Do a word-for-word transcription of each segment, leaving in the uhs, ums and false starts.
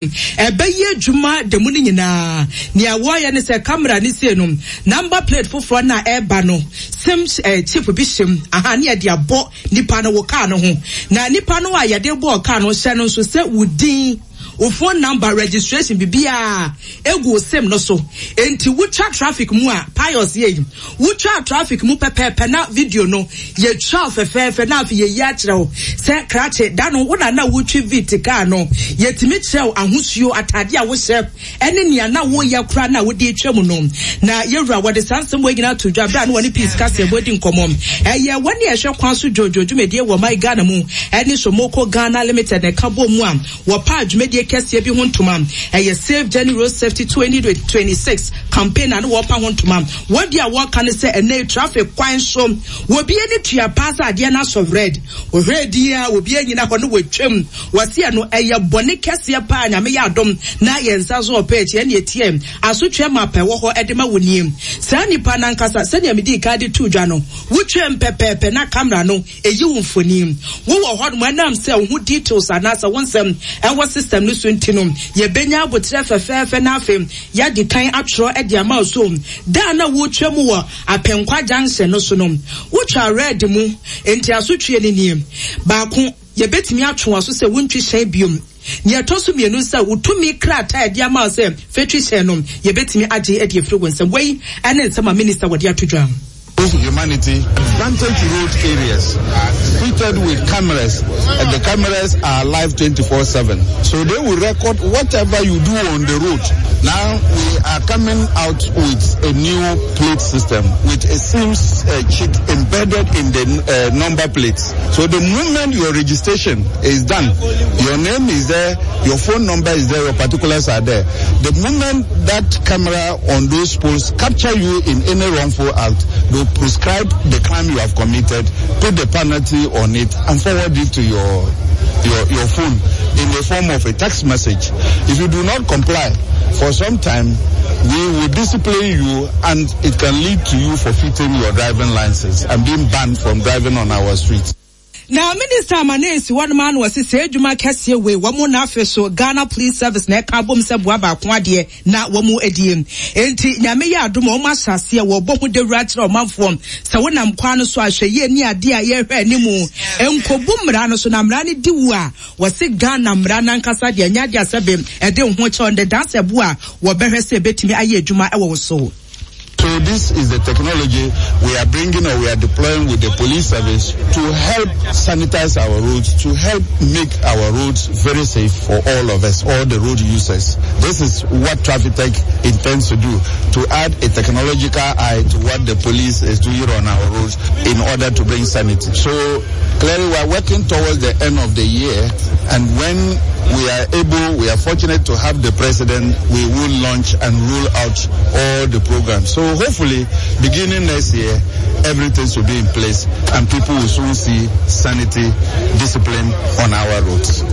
Ɛbɛyɛ adwuma da mu no nyinaa. Nea wɔyɛ ne sɛ camera ne sie no, number plate foforɔ no a ɛreba no, SIM eh, chip bi hyɛ mu aha ne yɛde abɔ nipa no wɔ kaa no ho. Na nipa no a yɛde bɔɔ kaa no hyɛ no nso sɛ wo din, wo phone number, registration, biribiara egu wo SIM no so. Enti wotwa traffic mu a, Pius yɛ yi, wotwa traffic mu pɛpɛɛpɛ na video no yɛtwa fɛfɛɛfɛ na afei yɛyi akyerɛ wo sɛ krakye da no wo na na wotwi Vitz kaa no. Yɛtumi kyerɛ wo ahosuo atade a wohyɛ ɛne nea na woyɛ koraa na wode atwa mu no. Na yɛwura wɔde saa nsɛm wɔ nyinaa to dwa berɛ a ne wɔne Peace kaseɛbɔ di nkɔmmɔ. Ɛyɛ wɔne ɛhwɛ kwan so dwodwo dwumadie wɔ man Ghana mu ɛne Somoko Ghana Limited na ɛka bɔ mu a wɔpaa dwumadie kɛseɛ bi ho ntoma. Ɛyɛ Safe Journey Road Safety twenty twenty-six campaign na ne wɔpa ho ntoma. Wɔde a wɔka ne sɛ ɛnɛ traffic kwan so wɔbi ani tua paa sɛ adeɛ no asɔ red, wɔhwɛ din a obi anyina hɔ no wɔatwam. Wɔseɛ no ɛyɛ bɔne kɛseɛ paa. Nyame yɛ adom na yɛn nsa so ɔpɛ akyi ɛne ɛtiɛ asotwe ma pɛ wɔ hɔ ɛde ma wo nie. Saa nipa nankasa, sɛnea medi kan de to dwa no, wotwam pɛpɛɛpɛ na camera no ɛyi wo mfoni. Wowɔ hɔ nom, ɛnam sɛ wo ho details anaasɛ wo nsɛm ɛwɔ system no so nti no, yɛbɛnya abotrɛ fɛfɛɛfɛ na afei yɛde kan atwerɛ de ama wo. So da na wotwa mu wɔ Apɛnkwa Junction no so no, wotwa red mu nti asotwe no nie: baako, yɛbɛtumi atwe wɔ so sɛ wontwi hyɛn biom. Nea ɛtɔ so mmienu, sɛ wotumi krataa ɛde ama wo sɛ fɛtwi hyɛn no, yɛbɛtumi agye de afiri wo nsɛm. Wei ɛne nsɛm a minister wɔde ato dwa. Humanity advantage road areas fitted with cameras, and the cameras are live twenty-four seven, so they will record whatever you do on the road. Now we are coming out with a new plate system with a SIM uh, chip embedded in the uh, number plates. So the moment your registration is done, your name is there, your phone number is there, your particulars are there. The moment that camera on those poles capture you in any wrongful act, they prescribe the crime you have committed, put the penalty on it, and forward it to your your, your phone in the form of a text message. If you do not comply for some time, we will discipline you, and it can lead to you forfeiting your driving license and being banned from driving on our streets. Na minister ama na esi hɔnom ano wɔsi sɛ adwuma kɛseɛ wei wɔn na afei so Ghana Police Service na ɛka abom sɛ boa baako adeɛ na wɔn adie. Nti Nyame yɛ adom a, wɔn ahyɛ aseɛ wɔbɔ ho dawura kyerɛ ɔmanfoɔ sɛ wonam kwan no so ahwɛ yie ne adeɛ a yɛhwɛ anim nkobu mmara no so na mmara no di wu a, wɔsi Ghana mmara nankasa deɛ nyɛ adeɛ asɛbe ɛde ho kyɛw ndɛ dansa bu a wɔbɛhwɛ sɛ ebetumi ayɛ adwuma ɛwɔ wo so. So this is the technology we are bringing or we are deploying with the police service to help sanitize our roads, to help make our roads very safe for all of us, all the road users. This is what Traffic intends to do, to add a technological eye to what the police is doing on our roads in order to bring sanity. So clearly we are working towards the end of the year, and when we are able, we are fortunate to have the president, we will launch and roll out all the programs. So hopefully, beginning next year, everything will be in place and people will soon see sanity, discipline on our roads.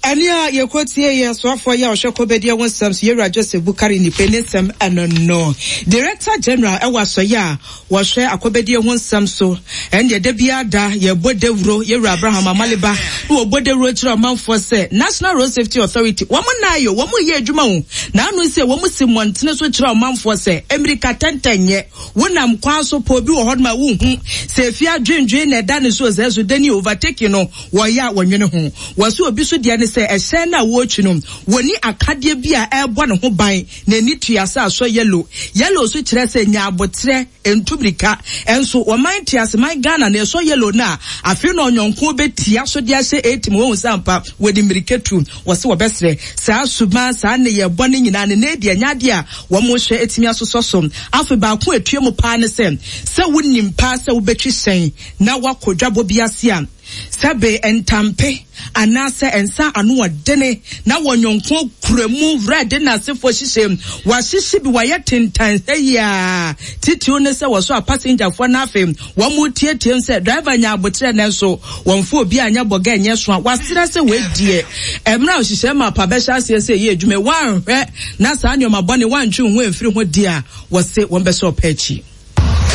Ɛne a yɛkɔtie yɛ soafoɔ yi a ɔhwɛ kɔbɛdeɛ ho nsɛm so, yɛwura Joseph Bukari Nipe ne nsɛm ɛno no. Director General ɛwɔ asɔyɛ a wɔhwɛ akɔbɛdeɛ ho nsɛm so, ɛne da biara da yɛbɔ dawuro, yɛwura Abraham Amaliba, na wɔbɔ dawuro kyerɛ ɔmanfoɔ sɛ National Road Safety Authority wɔn nan yɛ wɔn yɛ adwuma o. Na ano sɛ wɔn si mmɔntene so kyerɛ ɔmanfoɔ sɛ mmirika tɛntɛn nyɛ wonam kwan so pɔ obi wɔ hɔ nom a wohu sɛ efi adwendwen na ɛda ne so sɛ so dani overtaking no wɔyɛ a wɔnwene ho. Wɔsi obi so deɛ ne sɛ ɛhyɛn no a wɔretwi no wɔni akadeɛ bi a ɛrebɔ ne ho ban n'ani tua sɛ asɔ yellow. Yellow so kyerɛ sɛ nya abotrɛ ntumirika ɛnso wɔman te ase man Ghana na ɛsɔ yellow no a, afei na ɔnyɔnko bɛtia so de ahyɛ eighty mu. Wɔn sɛ ampa wɔde mmirika tu. Wɔsi wɔbɛsrɛ saa suban saa ne yɛ bɔ ne nyinaa ne ne deɛ nya adeɛ a wɔn hwɛ etimi asosɔ so. Afei baako etua mu paa ne sɛ sɛ wonim paa sɛ wobɛtwi hyɛn na wakɔ dwabɔ bi ase a, sɛbe ntampe anaasɛ nsa ano ɔdene na wɔnyɔnko kura mu red n'asefoɔ hyehyɛ wahyehyɛ bi wayɛ tentan sɛ yia titiw ne sɛ wɔso a passengerfoɔ n'afei wɔn mu tietie sɛ driver nya abotrɛ, nanso wɔn fo obi anya bɔgɛ nyɛ so a wasrɛ sɛ wɔadie mmerɛ a ɔhyehyɛ ma pa bɛhyɛ aseɛ sɛ ɛyɛ adwuma wɔanhwɛ na saa nneɛma bɔne wɔantwe ho amfiri ho di a, wɔse wɔn bɛsɛ ɔpɛ akyi.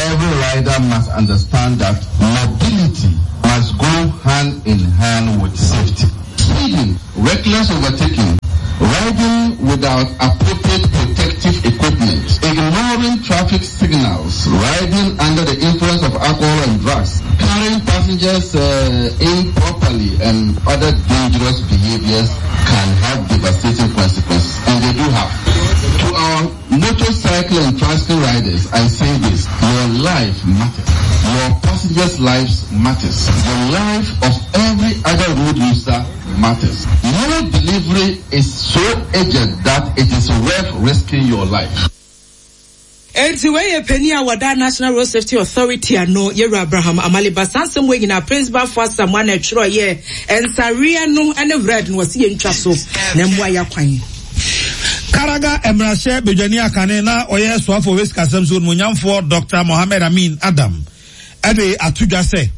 Every rider must understand that mobility must go hand in hand with safety. Speeding, reckless overtaking, riding without appropriate protective equipment, ignoring traffic signals, riding under the influence of alcohol and drugs, carrying passengers uh, improperly, and other dangerous behaviors can have devastating consequences, and they do have. To our motorcycle and tricycle riders, I say this, your life matters. Your passengers' lives matters. The life of every other road user matters. No delivery is so urgent that it is worth risking your life. Enti wei yɛ panin a wɔda National Road Safety Authority ano, Yɛwura Abraham Amaliba. Saa nsɛm wei nyinaa Prince Bafo Asamoah na ɛtwerɛeɛ. Nsareɛ no ne red no wɔse yɛntwa so na mmoa yɛ akwan. Karaga mmarahyɛ badwani akane na ɔyɛ soafoɔ wɔ sikasɛm so onimonyamfoɔ Doctor Mohammed Amin Adam de ato dwa sɛ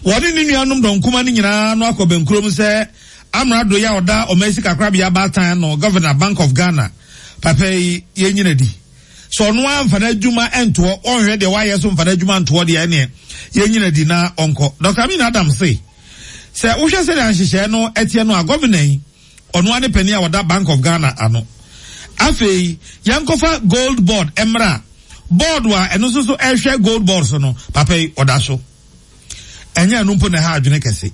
wɔne ne nuanom dɔnkuma no nyinaa no akɔ bɛnkurom sɛ amrado yi a ɔda ɔman sikakorabea baatan ano, Governor, Bank of Ghana, papa yi yɛnyina di. Sɛ ɔno ara mfa n'adwuma ntoɔ, ɔnhwɛ deɛ wayɛ so mfa n'adwuma ntoɔ deɛ ɛneɛ yɛnyina di na ɔnkɔ. Doctor Amin Adam se, sɛ wohwɛ sɛdeɛ nhyehyɛɛ no ɛteɛ no a, Governor yi, ɔno ara ne panin a ɔda Bank of Ghana ano. Afei, yɛnkɔfa Gold Board mmra. Board a ɛno nso so ɛhwɛ Gold Board so no, papa yi, ɔda so. Ɛnyɛ ɛno mpo na ɛha adwene kɛse.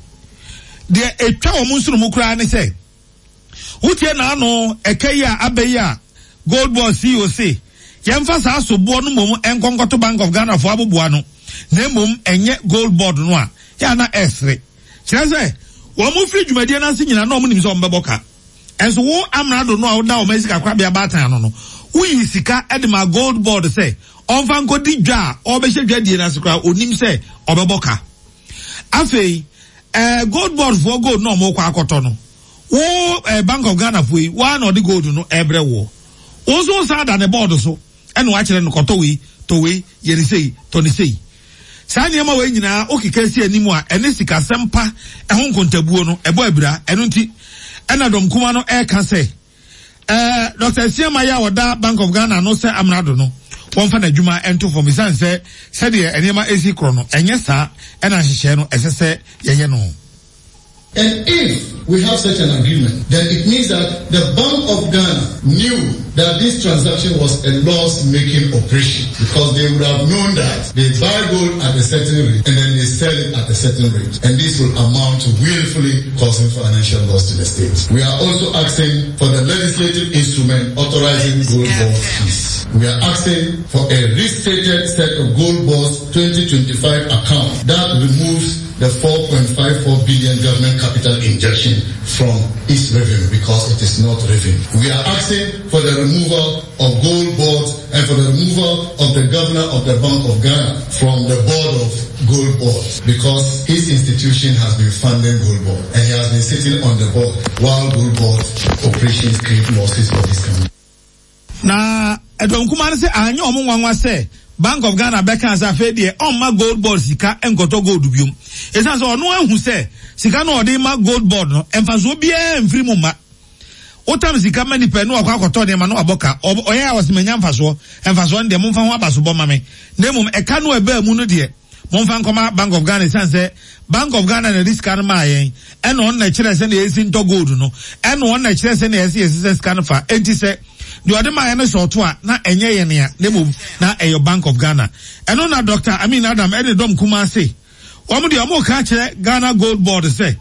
Deɛ ɛtwa wɔn nsono mu koraa ne sɛ, wotie n'ano ɛka yi a aba yi a Gold Board C E O se, yɛmfa saa soboɔ no mmom nkɔnkɔto Bank of Ghana fo aboboa no, na mmom ɛnyɛ Gold Board no a, yɛ a na ɛsere. Kyerɛ sɛ, wɔn mo firi dwumadie no ase nyinaa na wɔn nim sɛ wɔn bɛbɔ ka. Ɛnso wo amrado no a woda wɔn asi kakorabea baatan ano no, woyi sika de ma Gold Board sɛ ɔmfa nkɔdi dwa a ɔbɛhyɛ dwadie no ase koraa, onim sɛ ɔbɛbɔ ka. Afei, eh, Gold Board foɔ gold na ɔmo kɔ akɔtɔ no, wo, eh, Bank of Ghana foɔ yi, woa na ɔde gold no ɛbrɛ woɔ. Wo nso wo san da ne board so, ɛna wakyerɛ no kɔtɔ wei, tɔ wei, yɛ ne sei, tɔ ne sei. Saa nneɛma wei nyinaa wokeka si anim a ɛne sikasɛm pa ɛho nkontabuo no ɛbɔ abira. Ɛno nti ɛna dɔm kuma no ɛreka sɛ, eh, Doctor Asiama yi a ɔda Bank of Ghana no sɛ amrado no, wɔmfa n'adwuma nto fam esiane sɛ sɛdeɛ nneɛma esi korɔ no ɛnyɛ saa ɛna nhyehyɛe no ɛsɛ sɛ yɛyɛ no. And if we have such an agreement, then it means that the Bank of Ghana knew that this transaction was a loss-making operation, because they would have known that they buy gold at a certain rate and then they sell it at a certain rate. And this will amount to willfully causing financial loss to the state. We are also asking for the legislative instrument authorizing gold board fees. We are asking for a restated set of gold board's twenty twenty-five account that removes the four point five four billion government capital injection from its revenue, because it is not revenue. We are asking for the removal of gold boards and for the removal of the governor of the Bank of Ghana from the board of gold boards, because his institution has been funding gold board and he has been sitting on the board while gold board operations create losses for this country. Na Edom Kumar se anyo omo nwanwa se Bank of Ghana bɛka sɛ afei deɛ ɔmma gold board sika nkɔtɔ gold biom. Ɛsiane sɛ ɔno ahu sɛ sika no ɔde ma gold board no mfasoɔ biara mfiri mu mma. Wotam sika ma nipa no akɔ akɔtɔ nneɛma no abɔ ka. Ɔyɛ a ɔsɛ manya mfasoɔ. Mfasoɔ no deɛ momfa ho abasobɔ ma me. Na mmom ɛka no ɛbaa mu no deɛ momfa nkɔma Bank of Ghana, ɛsiane sɛ Bank of Ghana na ɛde sika no maa yɛn. Ɛna ɔno na ɛkyerɛ sɛ na yɛsi ntɔ gold no. Ɛna ɔno na ɛkyerɛ sɛ na yɛsi yɛsesɛ sika no fa. Enti sɛ deɛ ɔde maa yɛn no sɛ ɔto a na ɛnyɛ yɛn nea, na mmom na ɛyɛ Bank of Ghana. Ɛno na Doctor Amin Adam ɛne dɔm kuma ase. Wɔn deɛ wɔn ka kyerɛ Ghana Gold Board sɛ,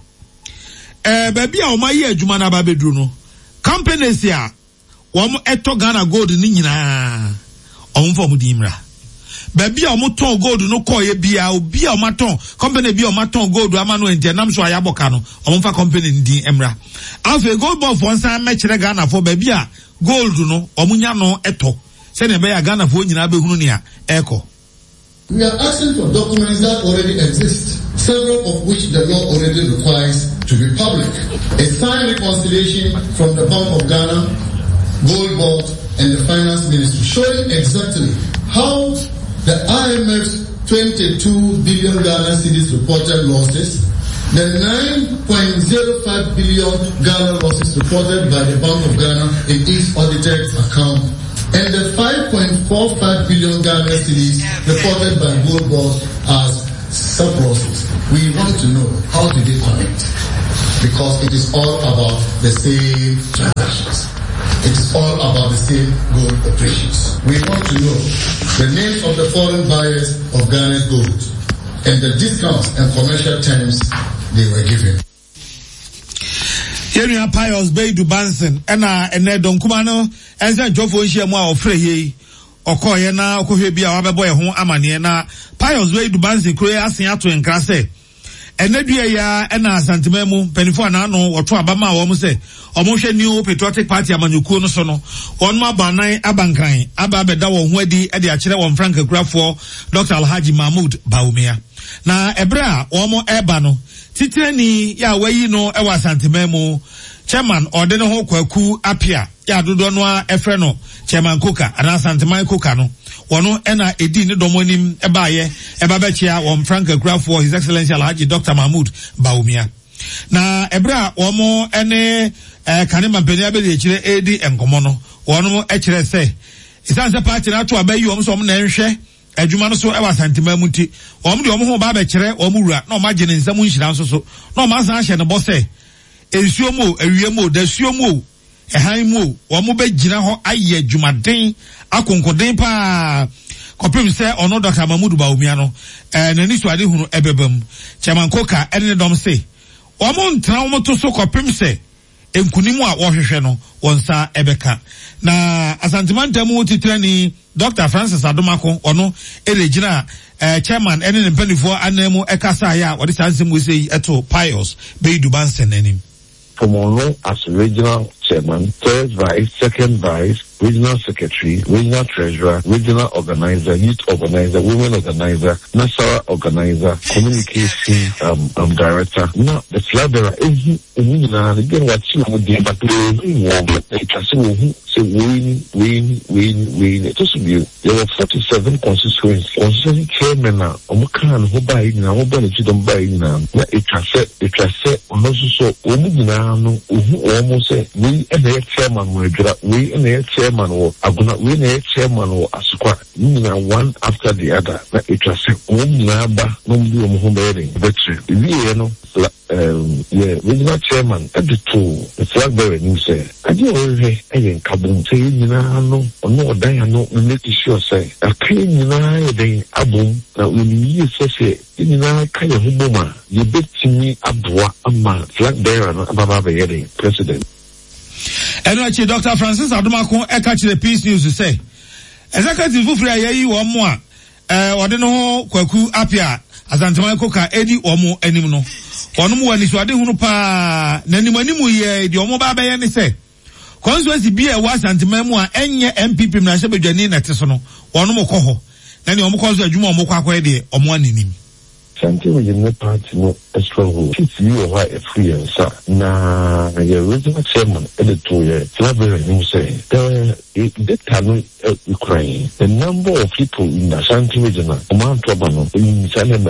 ɛɛ, baabi a wɔn ayɛ adwuma no aba abɛduru no, companies a wɔn ɛtɔ Ghana gold no nyinaa, wɔn mfa wɔn din mmra. Baabi a wɔn tɔn gold no kɔɔ yɛ bia, obi a wɔn atɔn, company bi a wɔn atɔn gold ama no nti ɛnam so a yɛabɔ ka no, wɔn mfa company no din mmra. Afei gold board foɔ nsan mɛkyerɛ Ghana foɔ baabi a gold no wɔn nya no ɛtɔ, sɛnea ɛbɛyɛ a Ghana foɔ nyinaa bɛhunu nea ɛrekɔ. We are asking for documents that already exist, several of which the law already requires to be public. A signed reconciliation from the Bank of Ghana, Gold Board, and the Finance Ministry showing exactly how the I M F's twenty-two billion Ghana cedis reported losses, the nine point zero five billion Ghana losses reported by the Bank of Ghana in its audited account, and the five point four five billion Ghana cedis reported by Gold Board as surpluses. We want to know, how do they connect? Because it is all about the same transactions. It is all about the same gold operations. We want to know the names of the foreign buyers of Ghana's gold and the discounts and commercial terms they were given. Yɛn nua Pius Beidu Banson ɛna ɛnɛ dɔnkuma no ɛnsɛ ntwɔfoɔ nhyia mu a ɔfrɛ yie yi ɔkɔɔyɛ na ɔkɔhwɛ bi a wabɛbɔ yɛn ho amaneɛ. Na Pius Beidu Banson kuro yi asen ato nkra sɛ ɛnɛ dua yi a ɛna Asanteman mu mpanimfoɔ a n'ano wɔto aba maa wɔn sɛ wɔhwɛ New Patriotic Party amanyɔkuo no so no, wɔn abɔ anan aba Nkran aba abɛda wɔn ho adi de akyerɛ wɔn frankakurafoɔ Doctor Alhaji Mahmood Bawumia. Na ɛberɛ a wɔn ɛreba no, titenani yɛ a wayi no wɔ Asanteman mu, Chairman ɔde ne ho Kwaku Apia yɛ a dodoɔ no ara ɛfrɛ no Chairman Koka anaa Asanteman Koka no, wɔn ɛna ɛdii ne dɔm anim ɛbaayɛ ɛba bɛkyea wɔn frankakurafoɔ His Excellency Alhaji Doctor Mahmood Bawumia. Na ɛberɛ a wɔn ɛne ɛɛ kane mampanin abɛdi akyire ɛredi nkɔmɔ no, wɔn ɛkyerɛ sɛ ɛsiane sɛ party no ato aba yi wɔn sɛ wɔn na ɛnhwɛ adwuma no so ɛwɔ Asanteman mu nti, wɔn de wɔn ho ba abɛkyerɛ wɔn wura na wɔn agye ne nsam nhyira nso so, na wɔn asan ahyɛ ne bɔ sɛ nsuo mu o, awia mu o, dasuo mu o, ɛhan mu o, wɔn bɛgyina hɔ ayɛ adwumaden akonkoden paa kɔpem sɛ ɔno Doctor Mahmood Bawumia no ɛɛ n'ani so ade hunu ɛbɛba mu. Chairman Koka ɛne ne dɔm se wɔn ntena wɔn to so kɔpem sɛ nkunim a wɔhwehwɛ no wɔn nsa ɛbɛka. Na Asantemantam mu titirani Doctor Francis Adomako ɔno ɛna gyina ɛɛ chairman ɛne ne mpanimfoɔ anan mu ɛkasa ayɛ a wɔde saa nsɛm wɔ yi ɛto Pius Beidu Banson anim. From Ono as regional chairman, third vice, second vice, regional secretary, regional treasurer, regional organizer, youth organizer, women organizer, Nasara organizer, communication um, um, director. Now, the flag bearer is again what you would do, but we win, win, win, win. It was you. There were forty-seven constituencies. Constituency chairman, Omukan, who buy in, who buy the don't buy in, na it has said, it has said, so, Omuginano, who almost say, we and the chairman were we and the chairman or Aguna, we and the chairman or Asukwa, one after the other. Na it has said, Omunaba, no be we no. Um, yeah, regional chairman at the two, the flag bearer, you say, I do I ain't kabum, say, you know, or no, Diana, make sure say, a clean, you know, they abum, now when you say, you know, kind of humoma, you bet me abwa, ama, flag bearer, ababa, president. And actually, Doctor Francis Adomako, I catch the Peace News to say, Executive Fufri, I one more, eh, or no, Kwaku Apia. Asanteman Koka edi omo anim no ono mu wani so ade hunu pa na anim anim ye de omo ba ba ye ne se constituency bi e wa Asanteman mu a enye N P P na hye bedwani na te so no ono mo kɔ hɔ na ne omo kɔ so adwuma omo kɔ akɔye de omo anenim. Asante Regional Party no stronghold. Six year why a free and sa na your regional chairman at the two year library you say the data no Ukraine the number of people in Ashanti regional amount of in Salem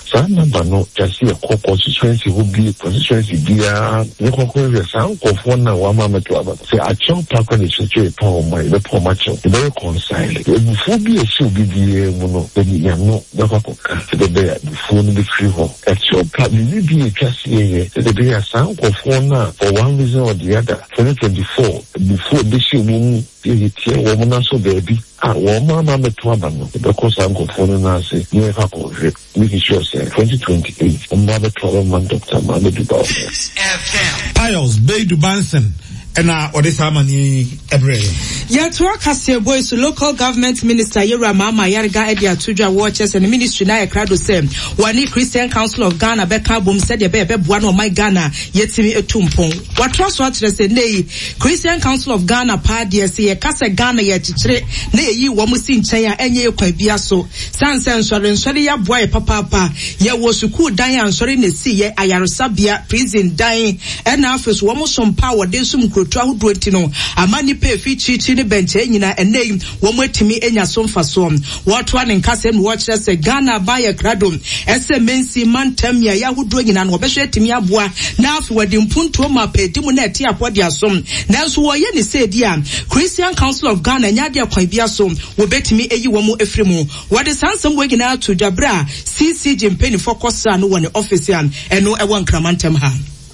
sa number no just see a constituency who be constituency be a sound of one now one moment to about say a child park on the situation power my the poor match the very reconcile before be a should be the mono the no the bear before the free home at your park you be a trust here the be a sound of one for one reason or the other twenty twenty four before this year woman so baby ah one mama no because I'm going to say you have making sure say twenty twenty eight Doctor Pius Beidu Banson and uh Odesamani Ebre. Yɛtoa kaseɛ boy so local government minister Yera Mama Yarga Eddie Atudwa watches and ministry na ekrado sɛ wani Christian Council of Ghana bɛka bom sɛ de bɛ bɛboa no ɔman Ghana yɛtimi etumpɔn. Watoa so akyerɛ sɛ nei Christian Council of Ghana pa deɛ sɛ yɛka sɛ Ghana yɛkyekyere na yɛyi wɔn si nkyɛn a ɛnyɛ yɛ kwan bia so. San sɛ nsɔre nsɔre yɛaboa yɛ papaapa. Yɛwɔ sukuu dan a nsɔre na esi yɛ ayaresabea prison dan ɛna afei so wɔn so mpa wɔde som nkurotu ahodoɔ nti no ama nipa efi kyirikyiri ne bɛnkyɛn nyinaa ɛnɛ yi wɔn atumi anya so mfasoɔ. Wɔtoa ne nkasɛm na wɔkyerɛ sɛ Ghana aban yɛ krado ɛsɛ mensi mantam mmeaeɛ ahodoɔ nyinaa no wɔbɛhwɛ atumi aboa na afei wɔde mpuntuo ma apɛdi mu na ɛte apɔ de asom. Nanso wɔyɛ ne sɛ edi a Christian Council of Ghana nya adeɛ kwan bi aso wɔbɛtumi ayi wɔn afiri mu. Wɔde saa nsɛm wɔ nyinaa to dwabere a C C G mpanyinfoɔ kɔsra no wɔ ne office a ɛno ɛwɔ Nkramantam ha.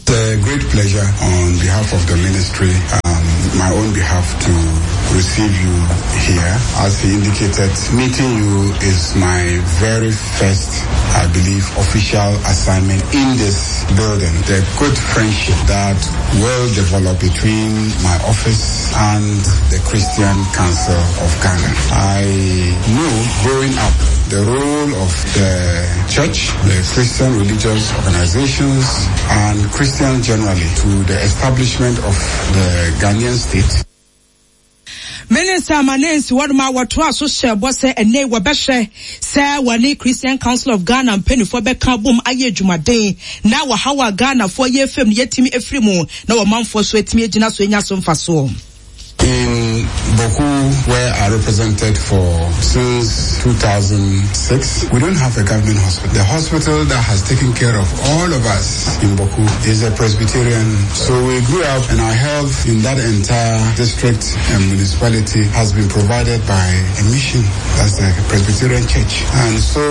It's a great pleasure on behalf of the ministry, um, my own behalf, to receive you here. As he indicated, meeting you is my very first, I believe, official assignment in this building. The good friendship that will develop between my office and the Christian Council of Ghana. I know growing up the role of the church, the Christian religious organizations, and Christian generally to the establishment of the Ghanaian state. Minister Manensi wɔn a wɔtoa so hyɛ bɔ sɛ ɛnɛ wɔbɛhwɛ sɛ wɔne Christian Council of Ghana mpanimfoɔ bɛka bom ayɛ adwumaden na wɔhaw a Ghanafoɔ yɛ fam no yɛtumi afiri mu na wɔmanfoɔ so atumi agyina so anya so mfasoɔ. In Bawku, where I represented for since two thousand six, we don't have a government hospital. The hospital that has taken care of all of us in Bawku is a Presbyterian. So we grew up, and our health in that entire district and municipality has been provided by a mission, that's the Presbyterian Church. And so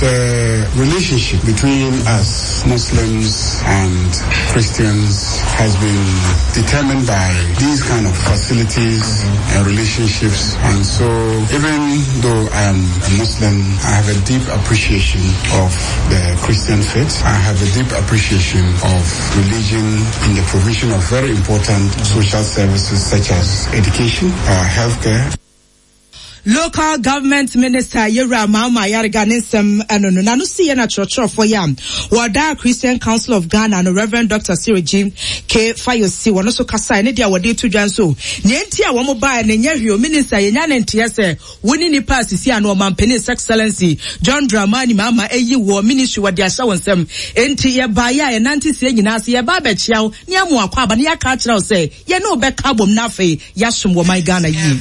the relationship between us, Muslims and Christians, has been determined by these kind of facilities and relationships. And so even though I am a Muslim, I have a deep appreciation of the Christian faith. I have a deep appreciation of religion in the provision of very important social services such as education, uh, healthcare. Local Government Minister Yera Mama Ayariga Ninsem eno no na no si ye na chrochro yam wada Christian Council of Ghana no Reverend Doctor Cyril G K. Fayosi wono so kasa ne dia wode to dwan so ne enti a wo ba ne nya hwio minister ye nya ne ntie se woni nipa asisi ano ɔmampanin His Excellency John Dramani Mahama eyi wo ministry wode ahya wo nsem enti ye ba ya ye nante sie nyina se ye ba ba chiaw ne amu akwa aba ne ya ka kire wo se ye ne obeka bom na afei ya som wo man Ghana yi.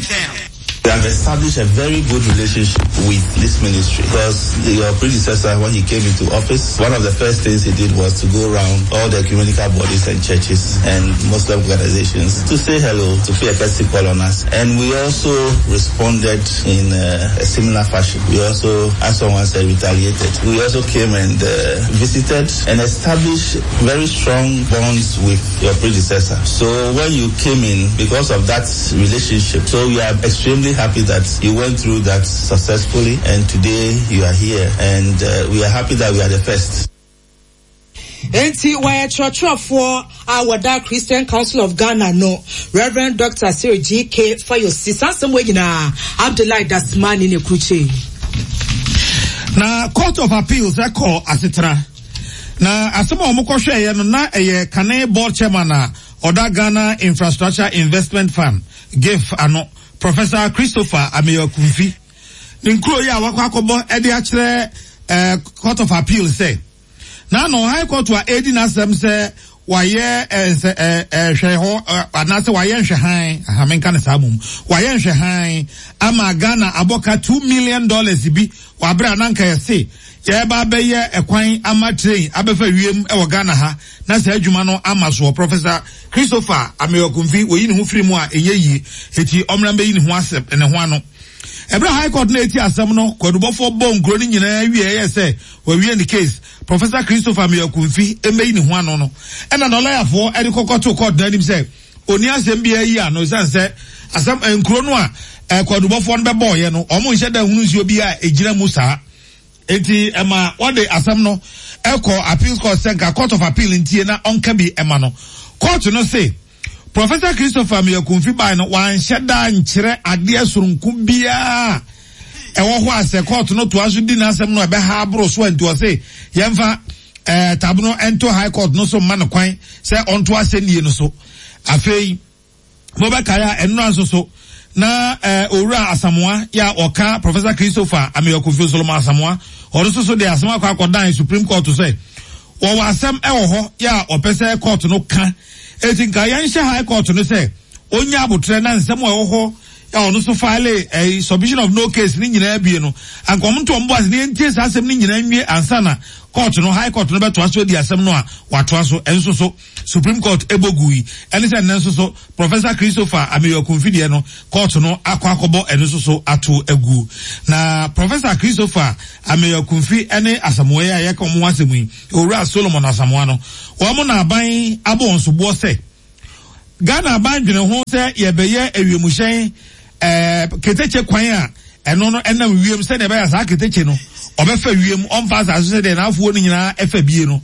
We have established a very good relationship with this ministry because your predecessor, when he came into office, one of the first things he did was to go around all the ecumenical bodies and churches and Muslim organizations to say hello, to pay a courtesy call on us. And we also responded in a, a similar fashion. We also, as someone said, retaliated. We also came and uh, visited and established very strong bonds with your predecessor. So when you came in, because of that relationship, so we are extremely happy that you went through that successfully, and today you are here, and uh, we are happy that we are the first. Enti wa chrochrofoɔ a wɔda Christian Council of Ghana no Reverend Doctor Cyril G K. Fayosi sansɛm wɔ nyinaa Abdullahi Dasmani ne kruche. Na Court of Appeals ɛkɔ asetena na asɛm a wɔn kɔhwɛeɛ no na ɛyɛ kane board chairman a ɔda Ghana Infrastructure Investment Fund GIF ano, Professor Christopher Ameyaw Akumfi ne nkuro yi a wakɔ akɔbɔ ɛde akyerɛ ɛɛ Court of Appeal sɛ na no High Court a edi n'asɛm sɛ wayɛ ɛɛ ɛɛ ɛhwɛ hɔ anaasɛ wayɛ nhwɛhan ahamenka ne saa mom wayɛ nhwɛhan ama Ghana abɔka two million dollars bi wabere ananka yɛse yɛba abɛyɛ ɛkwan ama train abɛfa wiem ɛwɔ Ghana ha na saa adwuma no ama soɔ. Professor Christopher Ameyaw Akumfi wɔyi ne ho firi mu a ɛnyɛ yie, eti ɔmra mbɛyi ne ho asɛm ne ho ano. Ɛberɛ High Court na eti asɛm no, kwadubɔfoɔ bɔ nkuro no nyinaa wie ɛyɛ sɛ wɔawie ne case, Professor Christopher Ameyaw Akumfi mbɛyi ne ho ano no, ɛna n'ɔlɔyafoɔ ɛde kɔkɔ to court n'anim sɛ oni asɛm biara yi ano, ɛsiane sɛ asɛm nkuro no a ɛkwadubɔfoɔ no bɛbɔɔyɛ no, ɔmo nhyɛ da hunu nsuo bi a egyina mu saa. Eti ɛma wɔde asɛm no ɛkɔ appeals court sɛ nka Court of Appeal ntie na ɔnka bi ɛma no. Court no se Professor Christopher Ameyaw Akumfi baa no wanhyɛ da nkyerɛ adeɛ soronko biara ɛwɔ hɔ a sɛ court no toa so di n'asɛm no ɛbɛha aboro so. Nti ɔse yɛmfa ɛɛ tabono ɛnto High Court no so mma no kwan sɛ ɔnto asɛnnie no so. Afei mobɛkae a ɛnora nso so na ɛɛ Owura Asamoa yɛ a ɔka Professor Christopher Ameyaw Akumfi, Solomon Asamoa, ɔno nso so de asɛm akɔ akɔdan Supreme Court sɛ wɔwɔ asɛm ɛwɔ hɔ yɛ a ɔpɛ sɛ court no ka, eti nka yɛnhyɛ High Court no sɛ onya abotire na nsɛm a ɛwɔ hɔ yɛ a ɔno nso file ɛyi submission of no case ne nyinaa bie no, anka ɔmo nto ɔmo bo ase ne yɛntie saa asɛm ne nyinaa nwie ansa na Court no, High Court no bɛtoa so adi asɛm no a watoa so. Ɛnso so Supreme Court ɛbɔ gu yi ɛne sɛ nnɛ nso so Professor Christopher Ameyaw-Akumfi deɛ no, court no akɔ akɔbɔ ɛno nso so ato agu. Na Professor Christopher Ameyaw-Akumfi ɛne Asamoah yi a yɛka wɔn ho asɛm yi, Owura Solomon Asamoah no, wɔn na aban abɔ wɔn soboɔ sɛ Ghana aban dwene ho sɛ yɛbɛyɛ awiemhyɛn ɛɛ ketekye kwan a ɛno no ɛnam wiem, sɛdeɛ ɛbɛyɛ saa ketekye no ɔbɛfa wiem, ɔmfa asase sɛdeɛ n'afoɔ no nyinaa ɛfa bie no.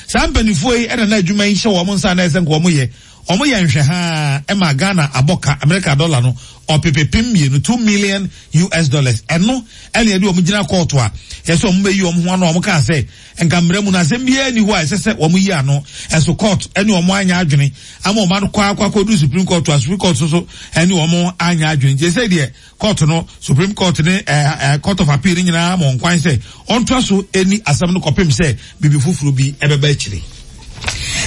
Saa mpanimfoɔ yi ɛna na adwuma yi hyɛ wɔn nsa na ɛsɛ nka wɔn yɛ wɔn yɛ nhwɛ haa ɛma Ghana abɔ ka America dollar no ɔpepepem mmienu, two million U S dollars. Ɛno ɛna yɛde wɔn gyina kɔɔto a yɛsɛ wɔn bɛyi wɔn ho ano. Wɔn kaa sɛ nka mmerɛ mu no, asɛm biara ni hɔ a ɛsɛ sɛ wɔn yi ano. Ɛso court ɛne wɔn anya adwene ama wɔn ano kɔ akɔ akɔdu Supreme Court a Supreme Court soso ɛne wɔn anya adwene. Nti ɛsɛ deɛ court no, Supreme Court ne ɛɛ ɛɛ Court of Appeal ne nyinaa ma wɔn kwan sɛ ɔntoa so ɛni asɛm no kɔpem sɛ biribi foforɔ bi ɛbɛba akyire.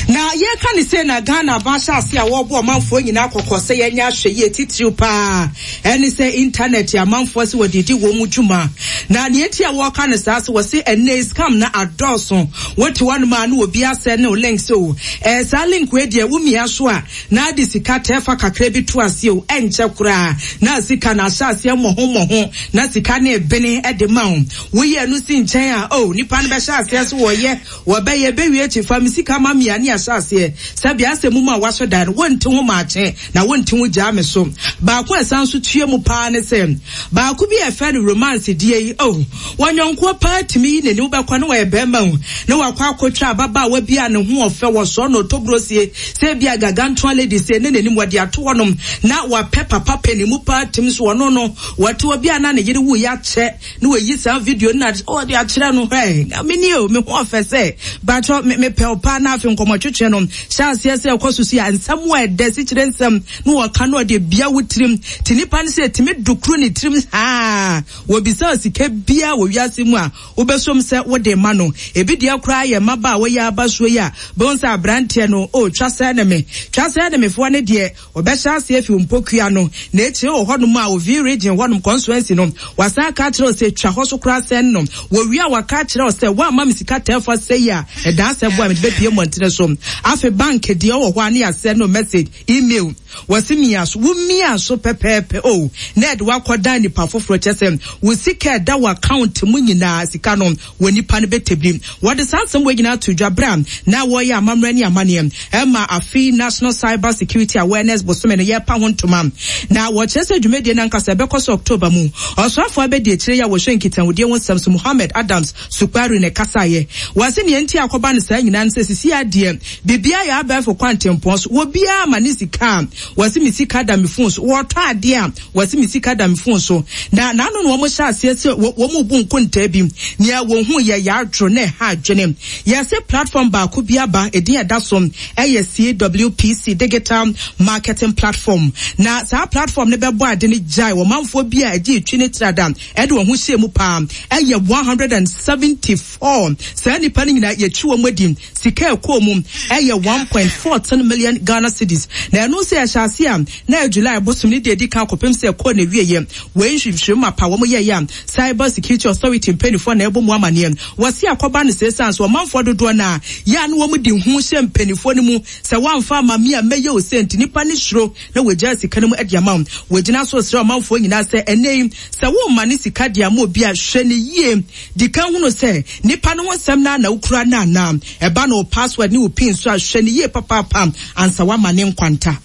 Na yɛka ne sɛ na Ghana aba ahyɛ ase a wɔrebɔ ɔmanfoɔ nyinaa kɔkɔ sɛ yɛnyɛ ahwɛ yie, titiriw paa ɛne sɛ internet amanfoɔ sɛ wɔde di wɔn mu dwuma. Na nea eti a wɔreka no saa sɛ wɔse ɛnɛ scam na adɔɔso. Wote hɔnom a, na obi asɛ ne link so ɛɛ saa link wei deɛ, womia so a na ade sika tɛɛfa kakra bi to ase o, ɛnkyɛ koraa na sika na ahyɛ aseɛ mmɔho mmɔho na sika ne ebene ɛde ma wo. Woyɛ no si nkyɛn a, o nipa no bɛhyɛ aseɛ so wɔyɛ wɔbɛyɛ bɛwie akyi fa mi sika ma mia ne ahyɛ aseɛ sɛbi asɛ mu mu a wasɔ dan no, wɔnte ho maakye na wɔnte ho gyaa me so. Baako a ɛsan so tue mu paa ne sɛ baako bi a ɛfɛ no romance die yi o, wɔnyɔnkoɔ paa tumi yi n'anim bɛkɔ ne wɔyɛ bɛrima o, ne wakɔ akɔtwa ababaawa bi a ne ho ɔfɛ wɔsɔ no ɔtɔburosie sɛ bi a gagantoa lady sɛ ne n'anim wɔde ato hɔnom na wapɛ papa panimu paa tim so. Ɔno no wɔte obi a na ne yere wu yɛ akyɛ na wɔyi saa video no na ɔde akyerɛ no hɛ, meni o, me ho ɔfɛ sɛ batɔ mepɛ ɔpaa. Na afei nkɔmmɔtwetwe no hyɛ aseɛ sɛ ɛkɔ so so yɛ nsɛm a ɛdɛ sikyerɛ nsɛm na wɔka no ɔde bia wo tirim te nipa no sɛ ɛtumi dukuru ne tirim haa. Wɔbisa sika bia wɔ wiase mu a wobɛsom sɛ wode ma no. Ebi deɛ koraa yɛ mmaba a wɔyɛ aba soɔ yi a bɛhu sɛ aberanteɛ no o, twa sɛ ne me twa sɛ ne mefoɔ ne deɛ wɔbɛhyɛ aseɛ fi mpokua no na ekyire wɔ hɔnom a ovi region hɔnom constituency no, wasan aka akyerɛ wo sɛ twa hɔ so koraa sɛn no. Wɔwie a, waka akyerɛ wo sɛ woamma me sika tɛɛfa sɛ yi a ɛdaa sɛ boa mede bɛpie mmɔntene so. Afei bank deɛ ɔwɔ hɔ a, ne yɛasɛ no message, email, wɔsi mia so, wo mia so pɛpɛɛpɛ o, na ɛde wakɔdan nipa foforɔ kyɛ sɛ wo sika ɛda wɔ account mu nyinaa, sika no wɔ nipa no bɛtɛbiri. Wɔde saa nsɛm wɔ nyinaa to dwa berɛ a na wɔyɛ amammerɛ ne amanneɛ ɛma afei National Cyber Security Awareness bosome no yɛpa ho ntoma. Na wɔkyerɛ sɛ dwumadie no ankasa ɛbɛkɔ so October mu. Ɔsoafoɔ abɛdi akyire yi a wɔhwɛ nkitahodie ho nsɛm so, Muhammed Adams Suparu, ne kasaeɛ. Wɔse nea nti akɔba no saa nyinaa no sɛ sisi adeɛ biribiara yɛ abɛɛfo kwantempɔn so, wɔbiara ma ne sika a wɔse me sika da me phone so, wɔtɔ adeɛ a wɔse me sika da me phone so. Na n'ano na wɔn hyɛ aseɛ sɛ wɔn mu bu nkontaa bi nea wɔn ho yɛ yɛadwo na ɛha adwene. Yɛsɛ platform baako bi aba, edin ɛda so ɛyɛ C W P C Digital Marketing Platform. Na saa platform no bɛbɔ ade no gyae wɔmanfoɔ bi a ɛgye etwi ne trada ɛde wɔn ho hyɛ mu paa, ɛyɛ one hundred and seventy four. Saa nipa no nyinaa yɛtwi wɔn adi, sika ɛkɔɔ mu ɛyɛ one point fourteen million Ghana cedis. Na ɛno nso yɛhyɛ ase a na ɛyɛ July bosom ne deɛ edi kan kɔpem sɛ ɛkɔɔ na ewie yɛ wei nhwehwɛmu mapa wɔn yɛ yɛ a Cyber Security Authority mpanimfoɔ na ɛbɔ mu amaneɛ. Wɔsi akɔba no sɛ esan so ɔmanfoɔ dodoɔ na yɛ a no wɔn di ho hyɛ mpanimfoɔ no mu sɛ wɔamfa ama mi a mɛyɛ o sɛ nti nipa ne suro na wɔgya sika no mu de ama wɔn. Wɔgyina so srɛ ɔmanfoɔ nyinaa sɛ ɛnɛ yi sɛ wɔmma ne sika de ama obi a, hwɛ ne yie, di kan hunu sɛ nipa no ho nsɛm na na wokura no anaa ɛba no password ne wo PIN so a, hwɛ ne yie papaapa ansa wama ne nkwanta.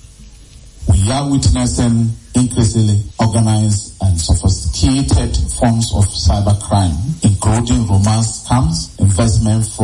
We are witnessing increasingly organized and sophisticated forms of cybercrime, including romance scams, investment fraud,